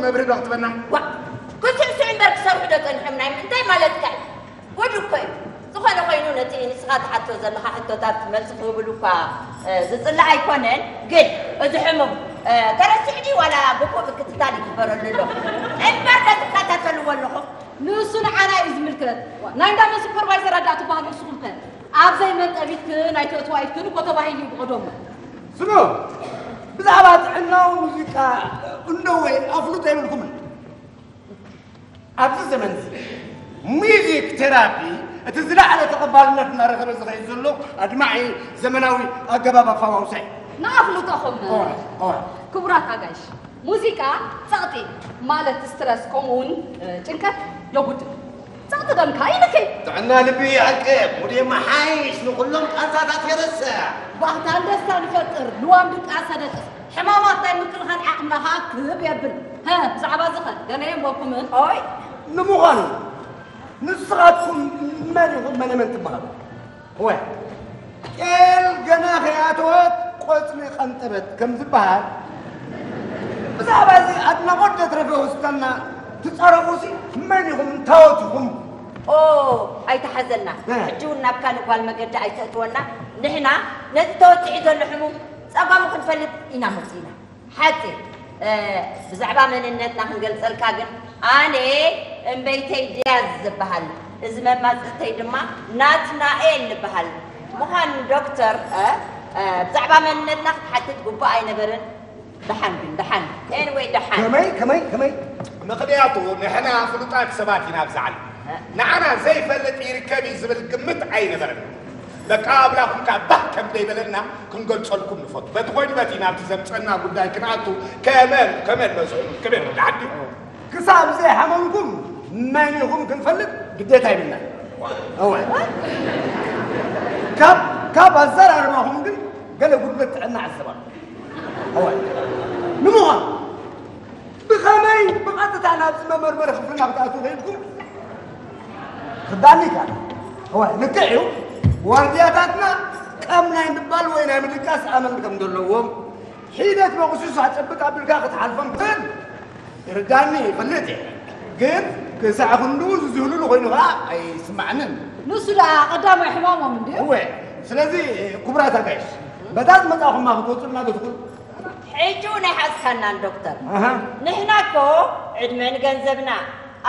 መብርህ ዶ ክትበና? ዋ፣ ክስዕስዑ እምበር ክሰርሑ ዶ ጸኒሖም? ናይ እንታይ ማለትካ እዩ? ጉድ እኮ እዩ። ዝኾነ ኮይኑ ነቲ ንስኻ ትሓቶ ዘለኻ ሕቶታት መልሲ ክህብሉ እኳ ዝጽላእ ኣይኮነን፣ ግን እዚ ሕሙም ተረሲዑ ድዩ ዋላ ግቡእ ምክትታል ይግበረሉ ኣሎ? እምበር ዶ ትከታተልዎ ኣለኹም? ንሱ ንዓና እዩ ዝምልከት። ናይ እንዳ መን ሱፐርቫይዘር ኣዳእ ትበሃሉ ንስኹም ከ? ኣብ ዘይመንጠቢትክን ኣይተእትዋይትክን እኮ ተባሂሉ እዩ ብቐደሙ። ስሙ፣ ብዛዕባ ጥዕናዊ ሙዚቃ እንዶ ወይ ኣፍሉጦ የብልኩምን። ኣብዚ ዘመን እዚ ሙዚክ ቴራፒ እቲ ዝለዓለ ተቐባልነት እናረኸበ ዝኸይድ ዘሎ ኣድማዒ ዘመናዊ ኣገባብ ኣፈዋውሳ እዩ። ንኣፍልጦኹም ክቡራት ኣጋይሽ፣ ሙዚቃ ጸቕጢ ማለት ስትረስ ከምኡውን ጭንቀት የጉድል። ጸቕጢ ደምካ ይልክይ። ጥዕና ልቢ ይዕቅብ፣ ሙድ የመሓይሽ፣ ንኹሎም ቃንዛታት የረስዕ። ባህታን ደስታን ይፈጥር፣ ልዋም ድቃሰ ደቅስ፣ ሕማማት ናይ ምክልኻል ዓቕምኻ ክብ የብል። ሀ፣ ብዛዕባ እዚ ኸ ገለ የንበብኩምን? ኦይ! ንምዃኑ ንስኻትኩም መን ኢኹም? መነ መን ትበሃሉ? እወ፣ ጤል ገና ከይኣተወት ቆጽሊ ቀንጠበት ከም ዝበሃል፣ ብዛዕባ እዚ ኣድናቖት ዘትረፈ ውስታና ትጸረፉሲ መን ኢኹም? እንታወት ኢኹም? ኦ፣ ኣይተሓዘልና። እ። ሕጂ እውን ናብ ካልእ ጓል መገዲ ኣይተእትወና። ንሕና ነቲ ተወጢዑ ዘሎ ሕሙም ጸገሙ ክንፈልጥ ኢና መጺእና። ሓቂ፣ እ፣ ብዛዕባ መንነትና ክንገልጸልካ ግን፣ ኣነ እምበይተይ ድያዝ ዝበሃል፣ እዚ መማጽእተይ ድማ ናትናኤል ዝበሃል ምዃኑ ዶክተር፣ እ፣ እ፣ ብዛዕባ መንነትና ክትሓትት ግቡእ ኣይነበርን። ደሓን ግን፣ ደሓን። ኤንወይ፣ ደሓን። ከመይ፣ ከመይ፣ ከመይ? ምኽንያቱ ንሕና ፍሉጣት ሰባት ኢና ኣብዚ ዓለም። ንዓና ዘይፈልጥ ይርከብ እዩ ዝብል ግምት ኣይነበረን። በቃ ኣምላኹም ከኣ ባህ ከም ዘይበለና ክንገልጸልኩም ንፈቱ። በቲ ኮይኑ በቲ ናብቲ ዘምጸና ጉዳይ ክንኣቱ ከመን፣ ከመን በዝሑ፣ ከመን ወዲ ዓዲ። ክሳብ ዘይሓመምኩም መን ኢኹም ክንፈልጥ ግዴታ ይብልና። እወ። ካብ፣ ካብ ኣዘራርባኹም ግን ገለ ጉድለት ጥዕና ዕዘብ ኣለኹ። እወ። ንምዃኑ ብኸመይ ብቐጥታ ናብዚ መመርመሪ ክፍልና ክትኣትዉ ኽኢልኩም? ክዳኒ ኢኻ። እወ፣ ልክዕ እዩ። ዋርድያታትና ቀም ናይ ምባል ወይ ናይ ምድቃስ ኣመል ከም ዘለዎም፣ ሒደት መቑስስ ኣጨብጥ ኣቢልካ ክትሓልፎም ትኽእል። ይርዳኒ፣ ይፈልጥ እየ። ግን ክሳዕ ክንድኡ ዝዝህሉሉ ኮይኑ ኸዓ ኣይስማዕንን። ንሱ ደኣ ቀዳማይ ሕማሞም እንድዩ። እወ፣ ስለዚ ክቡራት ኣጋይሽ፣ በታ ዝመጻኹማ ክትወጹልና ዶ ትኽእሉ? ሕጂ እውን ኣይሓዝካናን ዶክተር። ኣሃ። ንሕና እኮ ዕድመ ንገንዘብና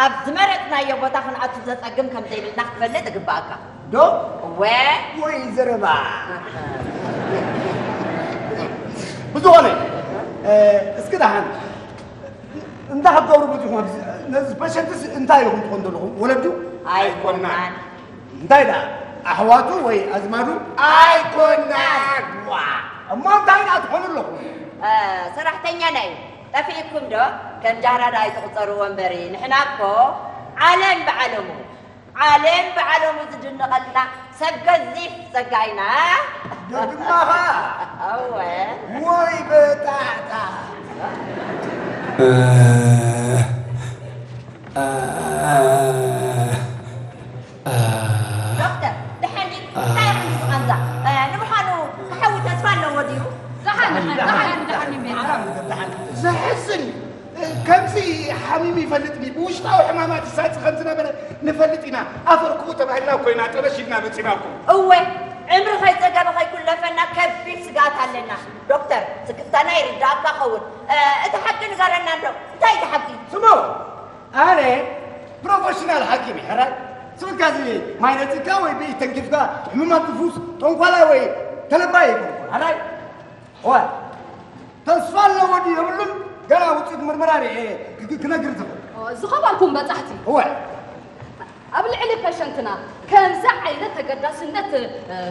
ኣብ ዝመረጽናዮ ቦታ ክንኣቱ ዘጸግም ከም ዘይብልና ክትፈልጥ እግብኣካ። ዶ? እወ። ወይ ዘረባ። ብዝኾነ፣ እ፣ እስኪ ደሓን፣ እንታይ ክትገብሩ መጺኹም ኣብዚ? ነዚ ፐሸንትስ እንታይ ኢኹም ትኾኑ ዘለኹም? ወለዱ? ኣይኮናን። እንታይ ደኣ? ኣሕዋቱ ወይ ኣዝማዱ? ኣይኮናን። ዋ! እሞ እንታይ ደኣ ትኾኑ ኣለኹም? እ፣ ሰራሕተኛና እዩ። ጠፊእኩም ዶ? ከም ጃህራዳ ኣይትቑጸርዎ እምበሪ። ንሕና እኮ ዓለም ብዓለሙ፣ ዓለም ብዓለሙ ዝድነቐልና ሰብ ገዚፍ ጸጋ ኢና። ደግማኻ? እወ። ወይ በጣዕታ። ዶክተር፣ ደሓን ድዩ? እንታይ ኢኹም እዚ ቃንዛ? እ፣ ንምዃኑ፣ ክሓዊ ተስፋ ኣለዎ ድዩ? ደሓን፣ ደሓን፣ ደሓን፣ ደሓን እዩ። ዘሕዝን እዩ። ከምዚ ሓሚሙ ይፈልጥ ድዩ? ብውሽጣዊ ሕማማት ይሳፂ ከም ዝነበረ ንፈልጥ ኢና። ኣፈር ክቡእ ተባሂልና እኮ ኢና ጠበሽ ኢልና መፂና እኮ። እወ፣ ዕምሪ ከይፀገበ ከይኩለፈና ከቢድ ስግኣት ኣለና። ዶክተር፣ ስክፍታና ይርድኣካ ኸውን። እ፣ እቲ ሓቂ ንገረና እንዶ፣ እንታይ እዩ እቲ ሓቂ? ስሙ! ኣነ ፕሮፌሽናል ሓኪም እየ፣ ሕራይ? ስብልካ እዚ ማይ ነፂግካ ወይ ብኢድ ተንኪፍካ ሕሙማት ትፍውስ ጠንቋላይ ወይ ተለባይ ኣይኮንኩን፣ ሕራይ? እወ። ተስፋ ኣለዎ ድዩ የብሉን ገና ውፅኢት ምርመራ ርኤ ክ-፣ ክ-፣ ክነግር ዝኽእል። ዝኸበርኩም በጻሕቲ፣ እወ። ኣብ ልዕሊ ፐሸንትና ከምዚ ዓይነት ተገዳስነት፣ እ፣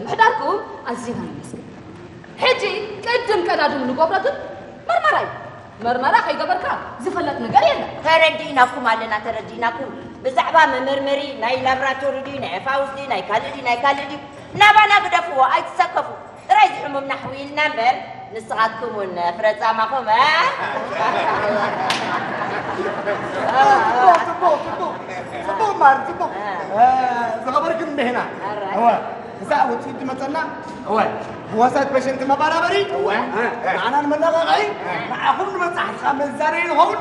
ምሕዳርኩም ኣዚና ነመስግን። ሕጂ ቅድም ቀዳድም ንገብሮ ግን መርመራ እዩ። መርመራ ከይገበርካ ዝፈለጥ ነገር የለን። ተረዲእናኩም ኣለና፣ ተረዲእናኩም። ብዛዕባ መመርመሪ ናይ ላብራቶሪ ድዩ፣ ናይ ፋውስ ድዩ፣ ናይ ካልእ ድዩ፣ ናይ ካልእ ድዩ፣ ናባና ግደፍዎ፣ ኣይትሰከፉ። ጥራይ ዝሕሙምና ኣሕውይልና እምበር፣ ንስኻትኩም እውን ፍረ ጻማኹም፣ እ? ጽቡቕ፣ ጽቡቕ፣ ጽቡቕ። ጽቡቕ ማር፣ ጽቡቕ። እ፣ ዝኸበርክን እምቤህና። ኣራይ። እወ፣ ክሳዕ ውጽኢት ዝመጸና፣ እወ፣ ብወሳት ፔሸንት መባራበሪ፣ እወ። እ፣ ንዓና ንመነቓቕሒ፣ ንዓኹም ንመጻሕቲ ካብ መዛነዪ ንኸውን።